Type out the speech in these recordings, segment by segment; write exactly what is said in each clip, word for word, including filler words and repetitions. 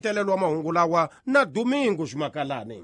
Telelo wa mahungu lawa na Domingo Ximakalani.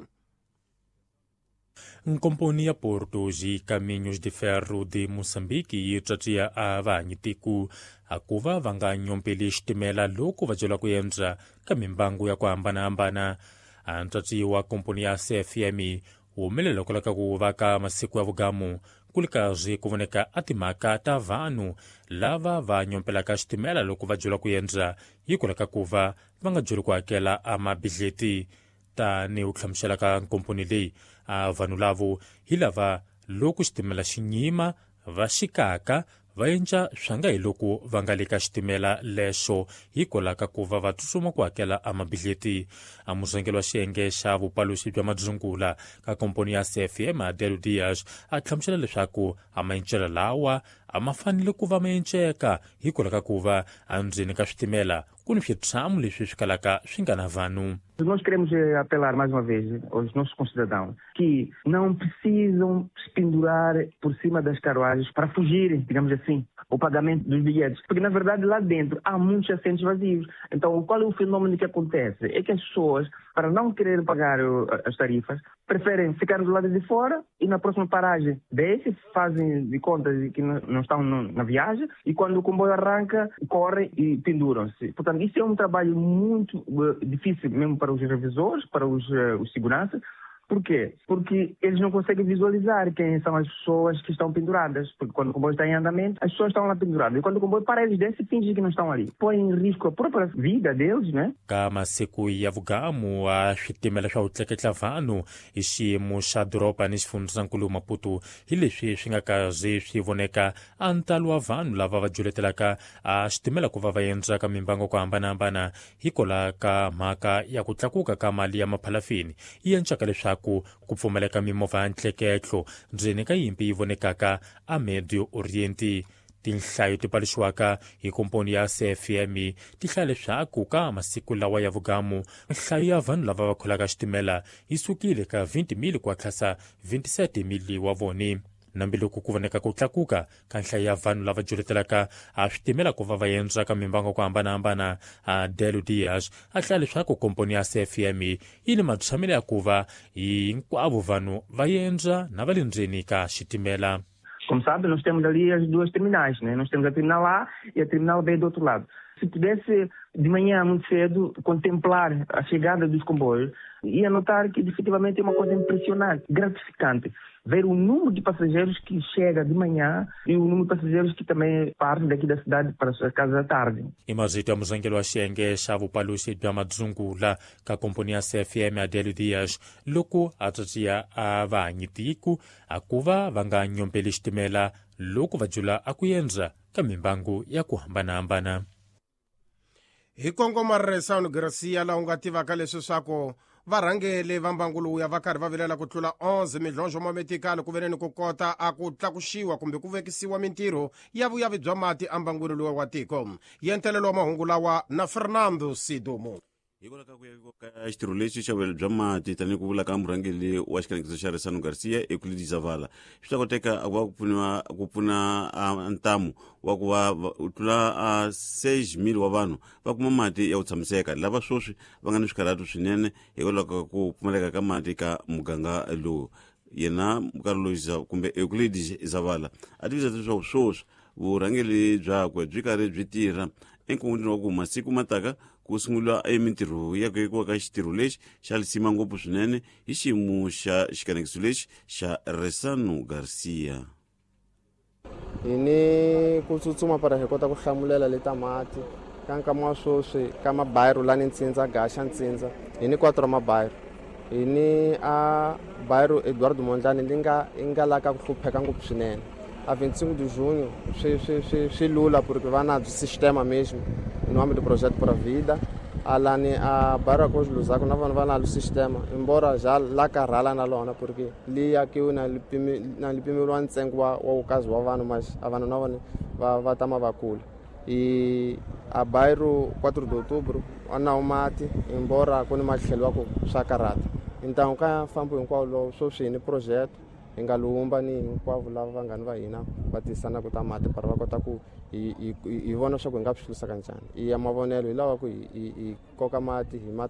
Nkomponi ya Portos e Caminhos de Ferro de Moçambique yi tswatsiya a vahanyitiku akuva va nga nyompeli xitimela loko va byela ku endza ka mimbangu ya ku hambanahambana. A ntswatsi wa komponi ya C F M humelela ku laka ku va ka masiku ya vugamu ku li karhi ku voneka a timhaka ta vanhu lava va nyompelaka xitimela loko va byela ku endza yi ku laka ku va va nga byeli ku hakela a mabidleti. Tanihi ku hlamusela ka nkomponi leyi, a vanhu lavo hi lava loko xitimela xi nyima va xikaka va endla swa nga hi loko va nga le ka xitimela lexo hikwalaho ka ku va va tsutsuma ku hakela a mabidleti. A murhangeri wa xiyenge xa vupaluxi bya madzungula ka komponi ya C F M Adelo Dias a hlamusela leswaku a maencelo lawa a ma fanele ku va ma enceka hikwalaho ka ku va endzeni ka switimela ku ni switshamo leswi swi kalaka swi nga na vanhu. Nós queremos apelar mais uma vez aos nossos concidadãos que não precisam se pendurar por cima das carruagens para fugirem, digamos assim, o pagamento dos bilhetes. Porque, na verdade, lá dentro há muitos assentos vazios. Então, qual é o fenômeno que acontece? É que as pessoas, para não querer pagar as tarifas, preferem ficar do lado de fora e na próxima paragem descem, fazem de conta de que não estão na viagem e quando o comboio arranca, correm e penduram-se. Portanto, isso é um trabalho muito difícil mesmo para os revisores, para os, os seguranças. Por quê? Porque eles não conseguem visualizar quem são as pessoas que estão penduradas. Porque quando o comboio está em andamento, as pessoas estão lá penduradas. E quando o comboio para, eles descem e fingem que não estão ali. Põem em risco a própria vida deles, né? Ka masiku ya vugamu a switimela swa ku tleketla vanhu hi xiyimo xa doroba ni xifundzankulu Maputo hi leswi swi nga kazi swi voneka a ntalo wa vanhu lava va juletelaka a xitimela ku va va endza ka mimbango ku hambanahambana hikwalaho ka mhaka ya ku tlakuka ka mali ya maphalafini yi encaka leswaku ku ku pfumaleka mimovha ya ntleketlo ndzeni ka yimpi yi vonekaka a Medio Oriente. Tinhlayo ti paluxiwaka hi komponi ya C F M ti hlaya leswaku ka masiku lawa ya vugamu nhlayo ya vanhu lava va kholaka xitimela yi sukile ka twenty mil ku hatlasa twenty-seven mil wa voni. Nambiloko ku voneka ku tlakuka ka nhlayo ya vanhu lava juletelaka a switimela ku va va endza ka mimbango ku hambanahambana, a Delo Dias a hlaya leswaku komponi ya C F M yi ni matshamelo ya ku va hinkwavo vanhu va endza na va le ndzeni ka xitimela. Como sabe, nós temos ali as duas terminais, né? Nós temos a terminal A e a terminal B do outro lado. Se pudesse, de manhã muito cedo, contemplar a chegada dos comboios, ia notar que efetivamente é uma coisa impressionante, gratificante. Ver o número de passageiros que chega de manhã e o número de passageiros que também parte daqui da cidade para as suas casas à tarde. I mazito ya murhangeri wa xiyenge xa vupaluxi bya madzungula ka komponi ya C F M Adelo Dias loko a tsatsiya a vahanyitiku a ku va va nga nyompeli xitimela loko va jula a ku endza ka mimbangu ya ku hambanahambana. Hi kongoma Resano Garcia laha u nga tivaka leswi swaku varhangeli va mbangu lowuya va karhi va vilela ku tlula onze midlondlo mametikali ku veneni ku kota a ku tlakuxiwa kumbe ku vekisiwa mintirho ya vuyavi bya mati embangwini luwa wa tiko. Yentelelo wa mahungu lawa na Fernando Sidumo. Hikwalaho ka ku yaviwa ka xitirho lexi xa vuyelo bya mati tanihi ku vula ka murhangeri wa xikanekiso xa Resano Garcia Euclides Zavala swi ta koteka ku va ku pfuniwa ku pfuna ntamu wa ku va u tlula a six mil wa vanhu va kuma mati ya ku tshamiseka lava sweswi va nga ni swikarhatu swinene hikwalaho ka ku pfumaleka ka mati ka muganga lowu. Yena Carlos kumbe Euclides Zavala a tivisa leswaku sweswi vurhangeri byakwe byi karhi byi tirha enkungwini wa ku masiku mataka ku sungula emintirho ya ku yekiwa ka xitirho lexi xa lisima ngopfu swinene hi xiyimo xa xikanekiso lexi xa Resano Garcia. Hi ni ku tsutsuma para hi kota ku hlamulela leta mati ka nkama wa sweswi ka mabayiro lani Ntsindza Gaxa Ntsindza hi ni quatro mabayiro hi ni a bayiro Eduardo Mondlane li nga i nga la ka ku hlupheka ngopfu swinene. A vinte e cinco de junho swi swi swi swi lula porque va na sistema mesmo em nome do projeto Pura Vida alani a bairro Cruz Lusaka na vanhu va na sistema embora já la karhala na lona porque li akiwe na lipimi na lipimeliwa ntsengo wa wa ukazi wa vanhu mas a vanhu na vona va va tama va kula e a bairro quatro de outubro ana o mati embora ku ni matlhelo wa ku swa karhata então ka fambo hinkwawo lowu sweswi hi ni projeto Hi nga lumba ni hinkwavo lava vanghani va hina va tisanaka ta mati para va kota ku hi hi hi vona swa ku hi nga swi hlurisa kanjhani. I ya mavonelo hi lava ku hi hi hi koka mati hi ma